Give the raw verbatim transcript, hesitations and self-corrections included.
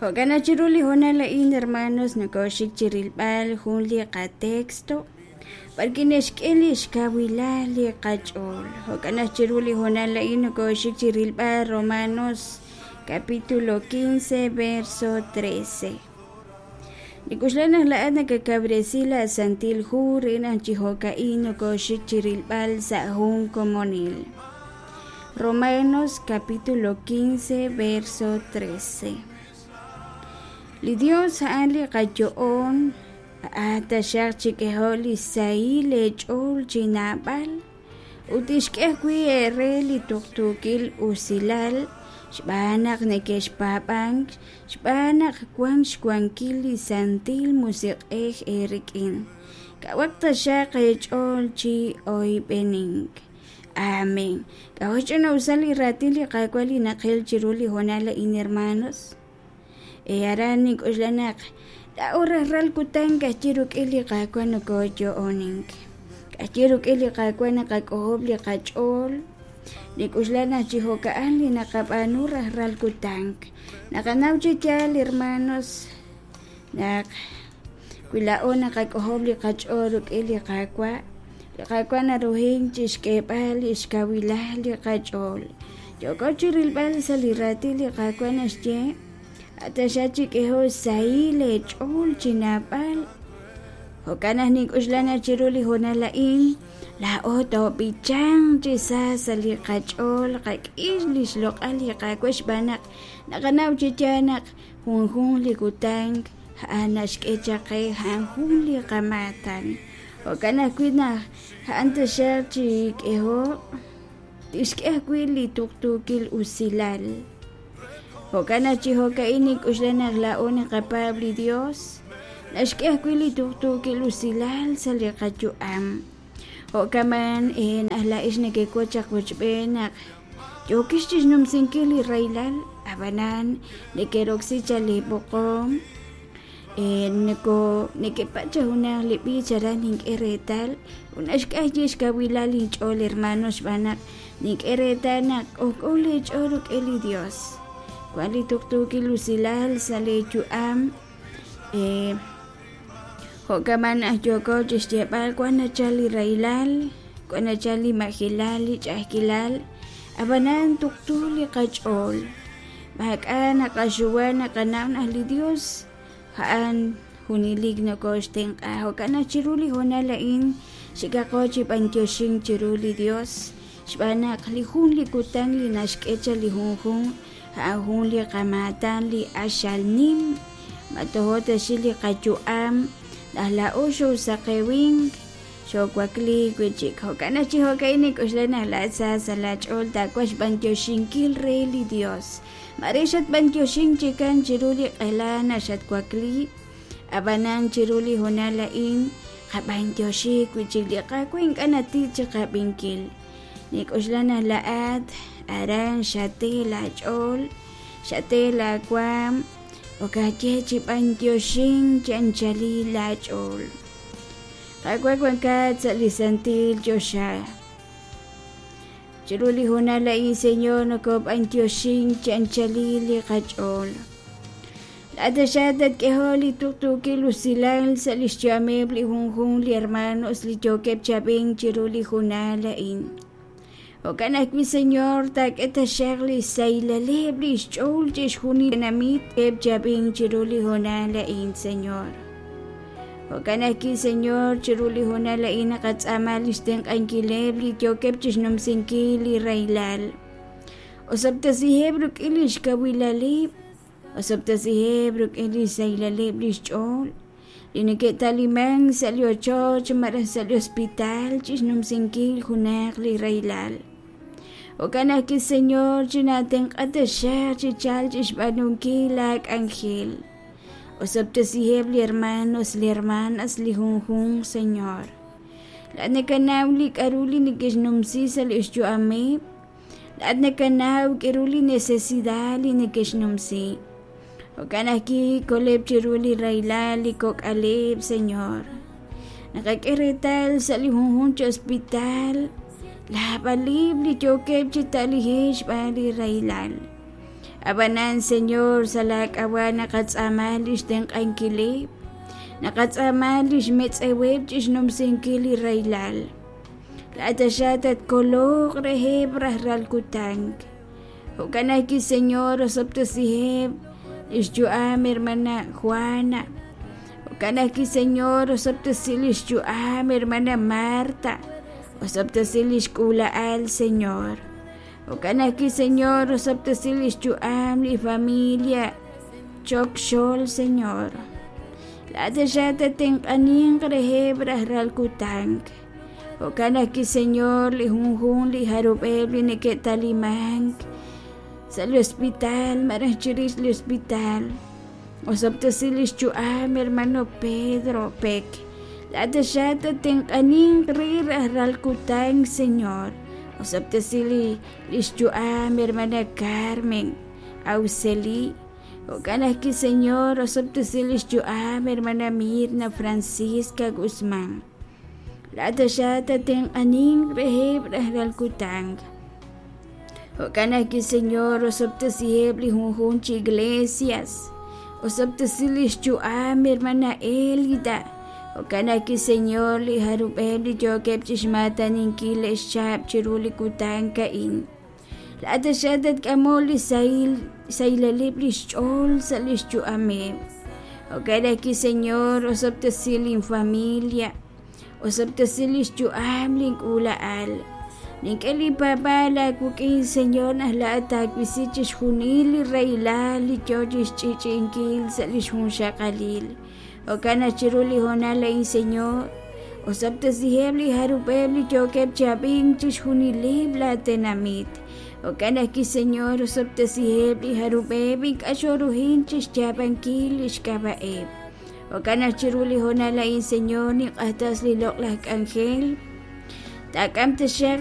Jo'kan naq chiru li hoonal a'in, hermanos, nokoxik chi rilb'al jun li qatexto b'arwi' naxk'e li xkawilal li qach'ool. Jo'kan naq chiru li hoonal a'in nokoxik chi rilb'al Romanos capítulo quince verso trece. Nik'uxla naq laa'at nakakawresi la Santil Hu re naq chi jo'ka'in nokoxik chi rilb'al sa' jun komonil. Romanos capítulo quince verso trece. Li Dios a'an li qayo'on, a'an taxaq chik'eho' li sahil eech'ool chi naab'al ut tixk'e ajwi' eere li tuqtuukil usilal xb'aan naq neke'xpaab'ank, xb'aan naq wank xwankil li Santil Musiq'ej eerik'in. Kawaq taxaq eech'ool chi oyb'enink. Amén. K'a'jo' xch'ina'usal li raatin li Qaawa' li naqil chiru li hoonal a'in, hermanos. E aran nink'uxla naq laa'o rajlal kutan ka'ajwi' rik'in li Qaawa' nokoyo'onink. Ka'ajwi' rik'in li Qaawa' naqak'ojob' li qach'ool. Nik'uxla naq chi jo'ka'an li naqab'aanu rajlal kutan. Naqanaw chi yaal, hermanos, naq wi laa'o naqak'ojob' li qach'ool rik'in li Qaawa', li Qaawa' naruhin chixk'eeb'al li xkawilal li qach'ool. Yooko chi rilb'al sa' li raatin li Qaawa' naxye, ataxa chik'eho sahil eech'ool chi naab'al. Jo'kan naq nink'uxla naq chiru li hoonal a'in, laa'o toob'ichanq chi sa sa' li qach'ool, qak'ix li xloq'al li Qaawa' xb'aan naq naqanaw chi yaal naq junjun li kutan a'an naxk'e chaq qe a'an jun li qamaatan. Jo'kan ajwi' naq a'an taxaq chik'eho tixk'e ajwi' li tuqtuukil usilal. Jo'kan naq chi jo'ka'in nink'uxla naq laa'o naqapaab' li Dios, naxk'e ajwi' li tuqtuukil usilal sa' li qayu'am. Jo'kaman naq laa'ex nekewach chaq wochb'een naq yookix chixnumsinkil li rahilal, ab'anan nekeroksi chaq li b'oqom, noko nekepach junaq li b'ich aran nink'e reetal, ut naxk'e ajwi' xkawilal inch'ool, hermanos, xb'aan naq nink'e reetal naq k'ojk'o leech'ool rik'in li Dios. Wan li tuqtuukil usilal sa' leeyu'am. Jo'kaman naq yooko chixyeeb'al wan nachal li rahilal, wan nachal li majilal, li ch'a'ajkilal, ab'anan tuqtu li qach'ool. Maak'a' naqaxuwa naqanaw naq li Dios a'an junelik nokoxtenq'a. Jo'kan naq chiru li hoonal a'in xikaqo chi b'antioxink chiru li Dios xb'aan naq li jun li kutan li naxk'e chaq li junjun a'an jun li qamaatan li q'axal nim. Matojo taxil li qayu'am naq laa'o xoosaqewink xoowakli wi'chik. Jo'kan naq chi jo'ka'in nink'uxla naq laa'at sa sa' laach'ool taawaj xb'antioxinkil re li Dios. Mare xatb'antioxink chikan chiru li q'ela naq xatwakli, ab'anan chiru li hoonal a'in qab'antioxik wi'chik li Qaawa' ink'a' natiik chiqab'inkil. Nink'uxla naq laa'at aran xate laach'ool, xate laawaam, okaye chi b'antioxink chi anchalil laach'ool. Qaawa' wankat sa' li santil choxa. Chiru li hoonal a'in, Señor, nokob'antioxink chi anchalil li qach'ool. Laa'at taxaq tatk'eho li tuqtuukil usilal sa' li xyu'ameb' li junjun li hermanos li yookeb' chab'ink chiru li hoonal a'in. Jo'kan ajwi', Señor, taak'e taxaq li saylaleb' li xch'ool chixjunil tenamit eb' chab'ink chiru li hoonal a'in, Señor. Jo'kan ajwi', Señor, chiru li hoonal a'in naqatz'aama li xtenq'ankileb' li yookeb' chixnumsinkil li rahilal. Osob'tesiheb' rik'in li xkawilaleb', osob'tesiheb' rik'in li saylaleb' li xch'ool, li neke'talimank sa' li ochoch malaj sa' li hospital chixnumsinkil junaq li rahilal. Jo'kan ajwi', Señor, chinatenq'a taxaq chi chal chixb'aanunkil laak'anjel. Osob'tesiheb' li hermanos, li hermanas, li junjunq, Señor. Laa'at nakanaw li k'a'ru li neke'xnumsi sa' li xyu'ameb'. Laa'at nakanaw k'a'ru li necesidad li neke'xnumsi. Jo'kan ajwi' koleb' chiru li rahilal li kok'aleb', Señor. Naqak'e reetal sa' li junjunq chi hospital, laab'alib' li yookeb' chi ta'lijeb' xb'aan li rahilal. Ab'anan Señor, sa' laak'ab'a' naqatz'aama li xtenq'ankileb', naqatz'aama li xmetz'eweb' chi xnumsinkil li rahilal. Laa'at taxaq tatkoloq reheb' rajlal kutan. Jo'kan ajwi', Señor, osob'tesiheb' li xyu'am hermana Juana. Jo'kan ajwi', Señor, osob'tesi li xyu'am hermana Marta. Osob'tesi li xk'uula'al, Señor. Jo'kan ajwi', Señor, osob'tesi li xyu'am li familia Choc Xol, Señor. Laa'at taxaq tatenq'aninq reheb' rajlal kutan. Jo'kan ajwi', Señor, li junjunq li jarub'eb' li neke'talimank sa' li hospital malaj chirix li hospital. Osob'tesi li xyu'am hermano Pedro Peck. Laa'at taxaq tatenq'aninq re rajlal kutan, Señor. Osob'tesi li li xyu'am hermana Carmen Auxeli. Jo'kan ajwi', Señor, osob'tesi li xyu'am hermana Mirna Francisca Guzmán. Laa'at taxaq tatenq'aninq reheb' rajlal kutan. Jo'kan ajwi', Señor, osob'tesiheb' li junjunq chi iglesias. Osob'tesi li xyu'am hermana Elida. Jo'kan ajwi', Señor, li jarub'eb' li yookeb' chixmaataninkil xcha'ab' chiru li kutan a'in. Laa'at taxaq tatk'amoq li sahil sahilaleb' li xch'ool sa' li xyu'ameb'. Jo'kan ajwi', Señor, osob'tesi linfamilia. Osob'tesi li xyu'am link'uula'al. Nink'e li paab'aal aawik'in, Señor, naq laa'at taawisi chixjunil li rahilal li yoo chixch'i'ch'i'inkil sa' li xjunxaqalil. Jo'kan naq chiru li hoonal a'in, Señor, osob'tesiheb' li jarub'eb' li yookeb' chi ab'ink chixjunileb' laatenamit. Jo'kan ajwi', Señor, osob'tesiheb' li jarub'eb' ink'a' xoruhin chixyaab'ankil li xk'ab'a'eb'. Jo'kan naq chiru li hoonal a'in, Señor, ninq'axtes li loq'laj k'anjel. Taak'am taxaq